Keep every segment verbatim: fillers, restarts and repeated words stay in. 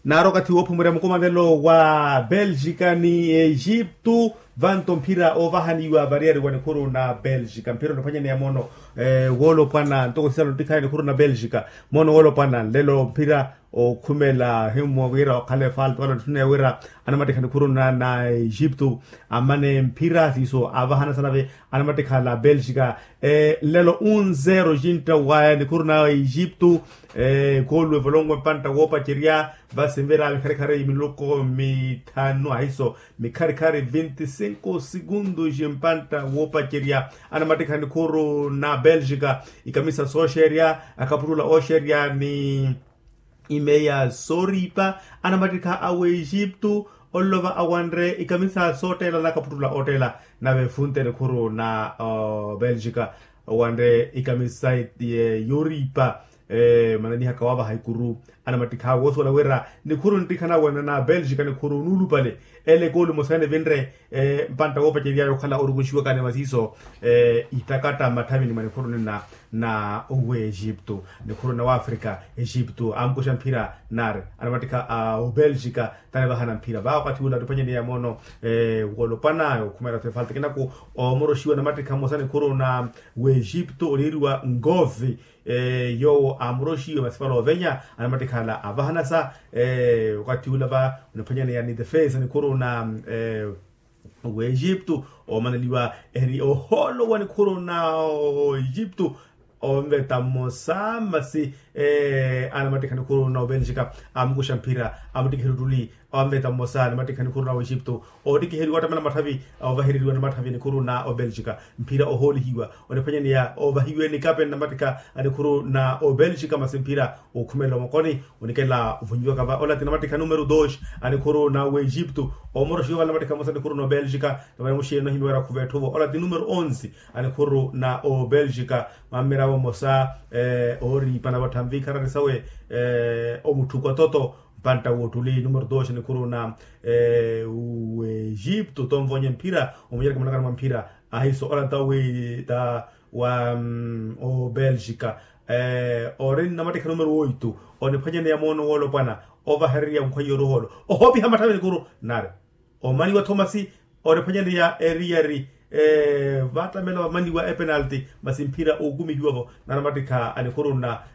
Naari okathi woophumurya mukomanelo wa belgika ni egiptu, vanto mphira oovahaniwa variyari wa nikhuru na belgika mphira oniphwanyaneya moono woolopwana ntoko sisala ontikhaya nikhuru na belgika. Moono woolopwana nlelo mphira okhumela himmwa wira okhala efalta wala ntthuna ya wira anamatikha nikhuru na egiptu, amane mphira siiso aavahana sanave anamatikha la belgika. Nlelo unzero cintta waya nikhuru na egiptu. Koolu evolonwe mpantta woopacerya, vasi nvira mikharikhari minuko mithanu ahiso mikharikhari vinti sinku segundos mpantta woopacerya. Anamattikha nikhuru na belgika ikamisa sooxerya, akaputula ooxerya ni imeya sooripa. Anamattikha a wexiptu onlova awanre ikamisa soottela nakaputula oottela. Nave funte nikhuru na belgika owanre ikamisa yooripa. Mananihaka waavaha ikuru anamattikha awe woosuwela wira nikhuru nttikhana wena na belgika nikhuru nuulupale. Ele koolu emosaani evinre mpantta woopaceryaya okhala orukuxiwakani masiiso itakatta mmatthavini mwa nikhuru nina na wexiptu. Nikhuru na waafrika exiptu amukuxa mphira nari anamattikha a obelgika tanivahana mphira vaakathi ula attiphwanyaneya moono woolopwana okhumela tho efalta kinaku. Omoroxiwa namattikha mmosa nikhuru na wexiptu oliiriwa ngovi yoowo amuroxiwe masi vale ovenya anamattikhala avahanasa. Okathi ula va oniphwanyaneya ni defensa nikhuru na wexiptu omaneliwa eri ohoolo wa nikhuru na oxiptu. Onveta mmosa masi anamattikha nikhuru na obelgika amukuxa mphira amuttikiheri ottuli. Onveta mmosa anamattikha nikhuru na wexiptu oottikiheriwa ottamela matthavi ovahereriwa namatthavi nikhuru na obelgika. Mphira ohoolihiwa oniphwanyaneya ovahiwe nikape nnamattikha a nikhuru na obelgika masi mphira okhumela omokoni onikela ovonyiwaka va ola ti namattikha numero dos a nikhuru na wexiptu. Omoroxiwa vale namattikha mmosa nikhuru na obelgika. Navale muxeeni onahimiwera khuva etthuvo ola ti numero onze a nikhuru na obelgika. Mammirawo mmosa ooripa navattha nvikharari sawe omutthuku atoto mpantta woottuli numero dos a nikhuru na wexiptu tonvonye mphira omunyereke munakana mwa mphira. Ahiso ola ta wi ta wa obelgika ori nnamattikha numero oitu oniphwanyaneya moono woolopwana ovahererya nkhwaiya oruholo ohoopiha matthavi nikhuru nari omaniwa thomasi oniphwanyaneya eriyari. Vaattamela vamaniwa epenalti masi mphira ookumihiwavo nanamattikha a nikhuru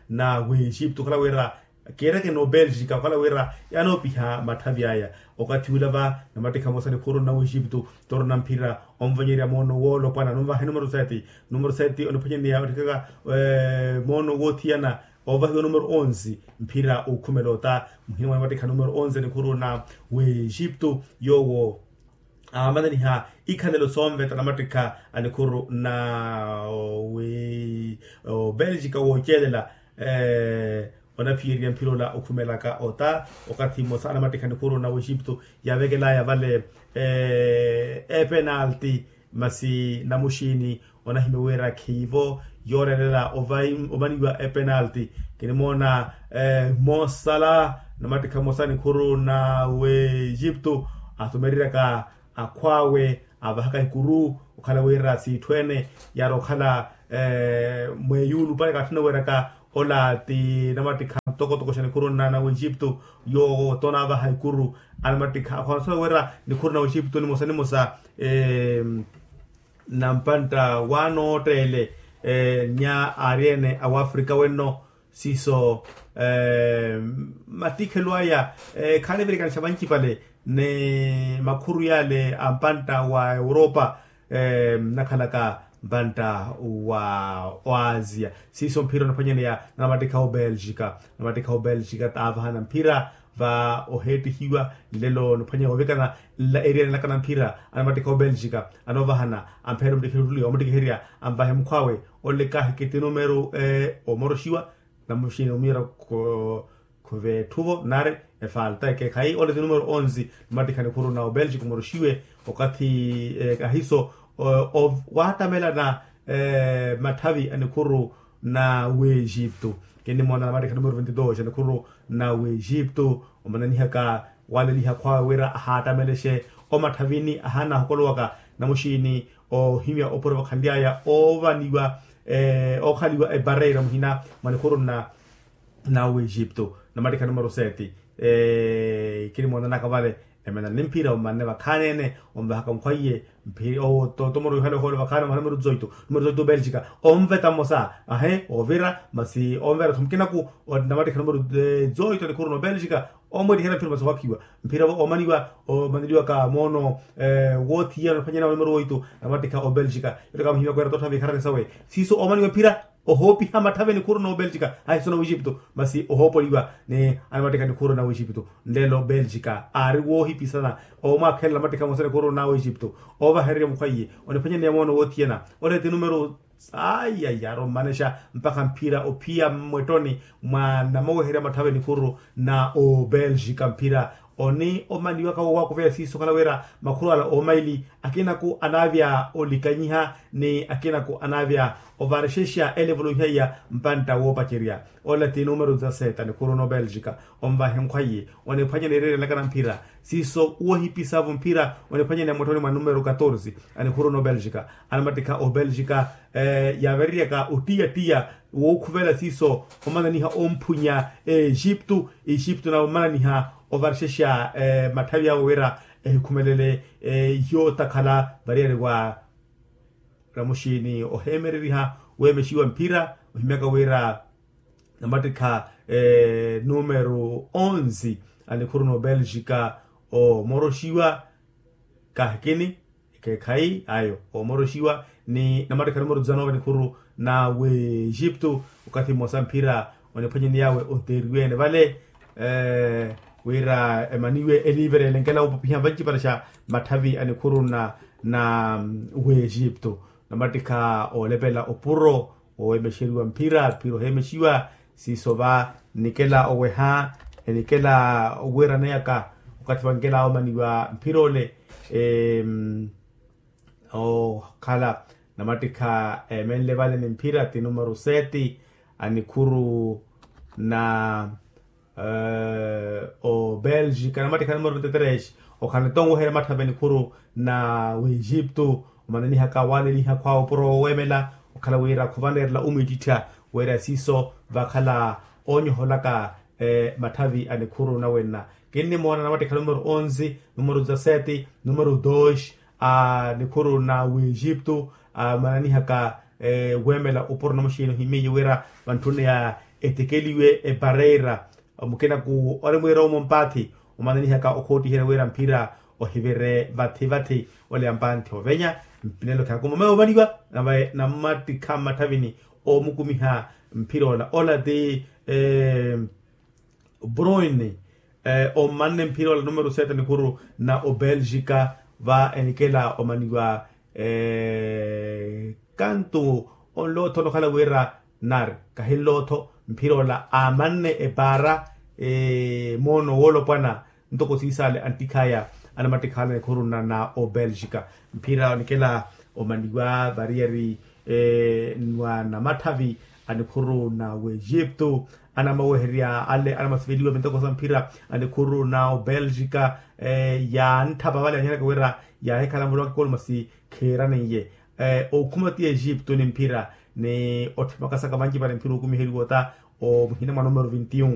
na wexiptu okhala wira kiireke n'obelgika okhala wira yaanoopiha matthavi aya. Okathi ula va namattikha mmosa nikhuru na wexiptu torona mphira onvonyerya moono woolopwana nonvahe numero sete. Numero sete oniphwanyaneya ottikaka moono woothiyana ovahiwa numero onze mphira okhumela ota muhina mwa namattikha numero onze nikhuru na wexiptu yoowo aamananiha ikhalelo soonveta namattikha a nikhuru na belgika wooceelela. Onaphiyerya mphira ola okhumelaka ota okathi mmosa anamattikha nikhuru na wexiptu yaavekelaya vale epenalti masi namuxiini onahimya wira khiivo yooreerela omaniwa epenalti. Kinimoona mosala namattikha mmosa nikhuru na wexiptu atumereryaka akhw'awe avahaka ikuru okhala wira siitthu ene yaari okhala mweeyuulu pale kaatthuna weeraka ola ti namattikha mutokotoko xa nikhuru na wexiptu yoowo tonaavaha ikuru anamattikha akhwansola wira nikhuru na wexiptu nimosa nimosa nampantta waanootteele nya aari ene awaafrika wenno siiso mattikhelo aya khaanivirikanixa vancipale ni makhuru yale a mpantta wa europa nnakhalaka mpantta wa oasia siiso mphira oniphwanyaneya na namattikha obelgika. Namattikha obelgika taavahana mphira va oheettihiwa nlelo niphwanya ovikana nla eriyari nlakana mphira anamattikha obelgika anoovahana ampheere omuttikiherya ottuli omuttikiherya anvahe mukhw'awe. Onlekahi kiti numero omoroxiwa namuxini omuyera khuve etthuvo nari efalta ekekhayi ole ti numero onze. Namattikha nikhuru na obelgika omoroxiwe okathi kahiso waattamela na matthavi a nikhuru na wexiptu. Kinnimoona namattikha numero ventidos a nikhuru na wexiptu omananihaka waleliha khwawe wira ahaattamelexe omatthavini ahaana ahukolowaka namuxiini ohimya opuro vakhanly'aya oovaniwa ookhaliwa epareira muhina mwa nikhuru na na wexipto. Namattikha numero sete. Kinimoonanaka vale emena ni mphira omanne vakhaneene onvahaka nkhwaiye mphira owo. Tomoro yohana ohoola vakhaneene omana numero dezoito numero dezoito belgica onveta mmosa ahe ovira masi onvera-tho mukinaku. Namattikha numero dezoito anikhuru na obelgica omwettihela mphira masi ohakhiwa mphira omaniwa omaneliwaka moono wothiyana ophwanyana wa numero oito namattikha obelgica. Yottaka muhimya kwera totthavi ikharani sawe siiso omaniwa mphira ohoopiha matthavi anikhuru na obelgica ahiso na wexipto masi ohoopoliwa ni anamattikha anikhuru na wexipto. Nlelo belgica aari woohipisana omwaakhelela amattikha mmosa anikhuru na wexipto ovahererya mukhwaiye oniphwanyaneya moono wothiyana ole ti numero. Ayi ayi aari ommanexa mpakha mphira ophiya mmwettoni mwa namaweherya matthavi anikhuru na obelgica mphira oni omaniwaka woowakuveya siiso okhala wira makhuru ala oomaili akinaku anaavya olikanyiha ni akinaku anaavya ovarexexa elevolo iha iya mpantta woopacerya. Ola ti numero dezasete anikhuru na obelgica onvahe nkhwaiye oniphwanyaneya ererelaka na mphira siiso wohipisavo mphira oniphwanyaneya mwettoni mwa numero katorze anikhuru na obelgica. Anamattikha obelgica yaavereryaka ottiyattiya wookhuvela siiso omananiha omphunya exipto exipto nawe omananiha ovarexexa matthavi awe wira ehikhumelele yootakhala variyari wa ramuxini oheemereriha weemexiwa mphira ohimyaka wira namattikha numero onze anikhuru na obelgica omoroxiwa kahikini ekeekhayi ayo omoroxiwa ni namattikha numero dezanove anikhuru na wexipto. Okathi mmosa mphira oniphwanyaneyawe onteeriwe-ene vale wira emaniwe eliivere elenkela woopopiha vancipale xa matthavi anikhuru na na wexipto namattikha oolepela opuro oweemexeriwa mphira mphira oheemexiwa siiso va nnikela oweha enikela owiiraneyaka okathi vankela omaniwa mphira ole. Okhala namattikha eemenle vale ni mphira ti numero sete anikhuru na obelgica namattikha numero vinte tres. Okhala nto onweherya matthavi anikhuru na wexipto omananihaka waaleliha khwaawe opuro wooweemela okhala wira khuvaneerela omwiittittha wira siiso vakhala oonyoholaka matthavi anikhuru nawenna. Kinnimoona namattikha numero onze numero dezasete numero dos anikhuru na wexipto amananihaka weemela opuro namuxiini ohimmiye wira vantthunne ya etekeliwe epareira mukinaku ori mwiira omo mpaathi omananihaka okhoottihela wira mphira ohivire vathi vathi ole ampanthi ovenya. Mpinelo khakuma mayi omaliwa nave namattikha mmatthavini omukumiha mphira ola ola ti bruin ommanne mphira ola numero sete anikhuru na obelgica va enikela omaniwa kantu onlootho onokhala wira nari kahinlootho mphira ola aamanne epaara moono woolopwana ntoko siisale anttikhaya anamattikhala anikhuru na obelgica. Mphira onikela omaniwa variyari nwa namatthavi anikhuru na wexipto anamaweherya ale anamasiveliwa mintoko sa mphira anikhuru na obelgica yaantthapa vale yaanyanaka wira yaahikhala murowaka ekolu masi khiiraneiye okhuma ti exipto ni mphira ni otthimakasaka vanci vale mphira okumiheliwa ota omuhina mwa numero vinte y un.